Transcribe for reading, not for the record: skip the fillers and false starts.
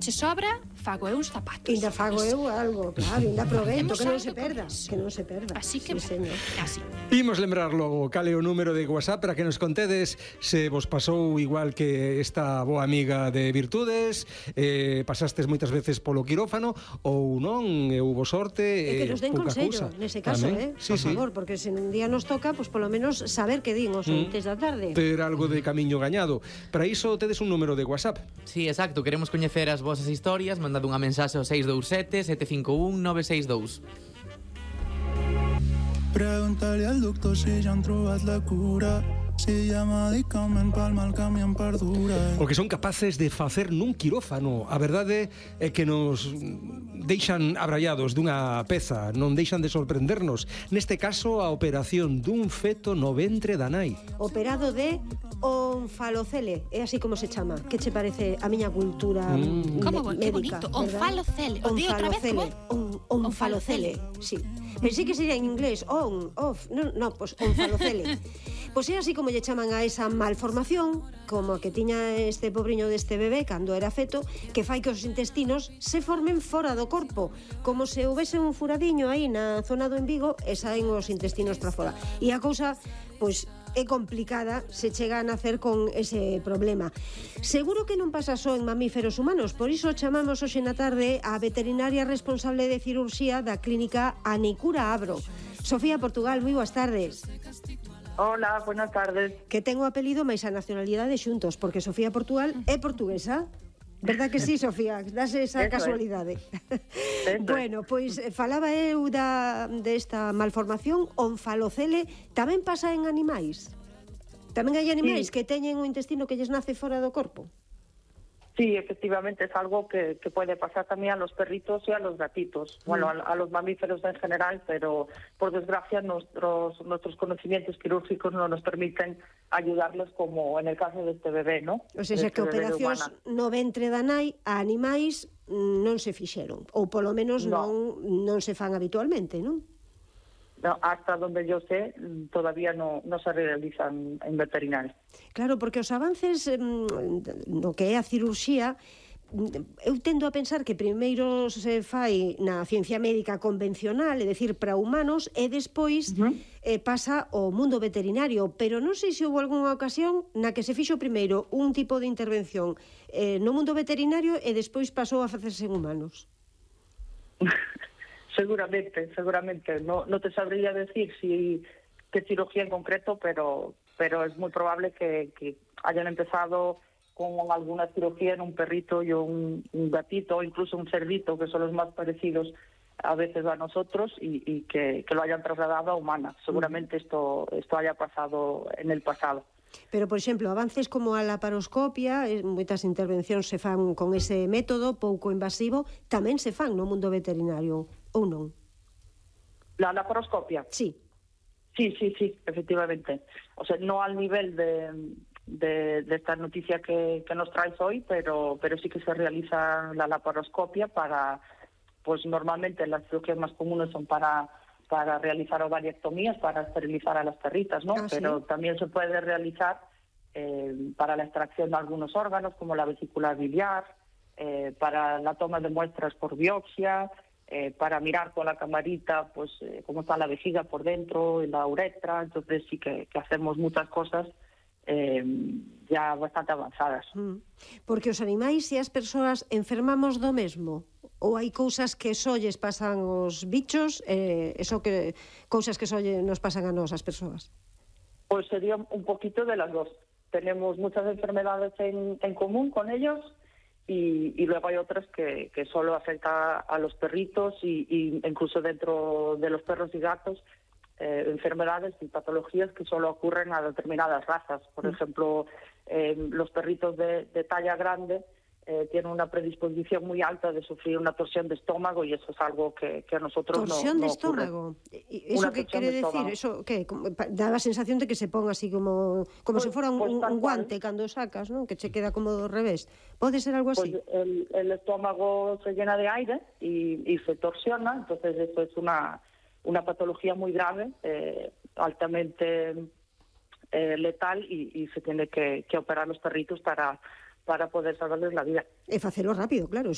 Se sobra, fago eu uns zapatos. Ainda fago eu algo, claro, ainda aproveito, que non se perda. Que non se perda. Así que, sí, señor. Así. Imos lembrar logo cal é o número de WhatsApp para que nos contedes se vos pasou igual que esta boa amiga de Virtudes, pasastes moitas veces polo quirófano ou non, e hubo sorte, que nos den consello, nese caso, sí, por favor, porque se un día nos toca, pues polo menos saber que din os ointes da tarde. Ter algo de camiño gañado. Para iso tedes un número de WhatsApp. Sí, exacto, queremos coñecer as vosas historias, mandade unha mensaxe ao 627 751 962. Pregúntale al doctor si ya han trobat la cura. Si llama medicament pal mal camión perdura. O que son capaces de facer nun quirófano. A verdade é que nos deixan abrallados dunha peza, non deixan de sorprendernos. Neste caso, a operación dun feto no ventre da nai. Operado de onfalocele, é así como se chama. Que che parece a miña cultura Como, que médica? bonito, onfalocele. O di outra vez, como? Onfalocele, sí. Pensei que sería en inglés, pues onfalocele. Pois é así como lle chaman a esa malformación, como a que tiña este pobriño deste bebé cando era feto, que fai que os intestinos se formen fora do corpo, como se houvese un furadiño aí na zona do embigo e saen os intestinos para fora. E a cousa, pois, é complicada se chega a nacer con ese problema. Seguro que non pasa só en mamíferos humanos, por iso chamamos hoxe na tarde a veterinaria responsable de cirurxía da clínica Anicura Abro. Sofía Portugal, moi boas tardes. Hola, buenas tardes. Que ten o apelido máis a nacionalidade xuntos, porque Sofía Portugal é portuguesa. Verdad que sí, Sofía? Dase esa casualidade. Bueno, pois falaba eu desta malformación onfalocele. Tamén pasa en animais? Tamén hai animais que teñen o intestino que lles nace fora do corpo? Sí, efectivamente es algo que puede pasar también a los perritos y a los gatitos, bueno, a los mamíferos en general, pero por desgracia nuestros conocimientos quirúrgicos no nos permiten ayudarles como en el caso de este bebé, ¿no? O sea, que operacións no ventre da nai a animais non se fixeron, ou polo menos non se fan habitualmente, non? No, hasta donde yo sé, todavía no se realizan en veterinaria. Claro, porque os avances no que é a cirurxía, eu tendo a pensar que primeiro se fai na ciencia médica convencional, é dicir, para humanos, e despois pasa ao mundo veterinario, pero non sei se houve algunha ocasión na que se fixo primeiro un tipo de intervención no mundo veterinario e despois pasou a facerse en humanos. Seguramente. No te sabría decir qué cirugía en concreto, pero es muy probable que hayan empezado con alguna cirugía en un perrito y un gatito, o incluso un cerdito, que son los más parecidos a veces a nosotros, y que lo hayan trasladado a humana. Seguramente esto haya pasado en el pasado. Pero, por exemplo, avances como a laparoscopia, moitas intervencións se fan con ese método pouco invasivo, tamén se fan no mundo veterinario, ou non? ¿La laparoscopia? Sí. Sí, efectivamente. O sea, no al nivel de esta noticia que nos traes hoy, pero sí que se realiza la laparoscopia para, pues normalmente las cirugías más comunes son para realizar ovariectomías, para esterilizar a las perritas, ¿no? Pero también se puede realizar para la extracción de algunos órganos, como la vesícula biliar, para la toma de muestras por biopsia, para mirar con la camarita pues cómo está la vejiga por dentro, la uretra. Entonces sí que hacemos muchas cosas ya bastante avanzadas. Porque os animais e as persoas enfermamos do mesmo? Ou hai cousas que só lles pasan aos bichos cousas que só nos pasan a nós, as persoas? Pues sería un poquito de las dos. Tenemos muchas enfermedades en común con ellos y luego hay otras que solo afecta a los perritos y incluso dentro de los perros y gatos, enfermedades y patologías que solo ocurren a determinadas razas. Por ejemplo, los perritos de talla grande tienen una predisposición muy alta de sufrir una torsión de estómago, y eso es algo que a nosotros ¿Torsión no de estómago? ¿Eso qué quiere decir? ¿Eso qué? Da la sensación de que se ponga así como pues, si fuera un guante cando sacas, ¿no? Que se queda como do revés. ¿Puede ser algo así? Pues el estómago se llena de aire y se torsiona, entonces eso es una patología muy grave, altamente letal, y se tiene que operar los perritos para para poder salvarles la vida. E facelo rápido, claro.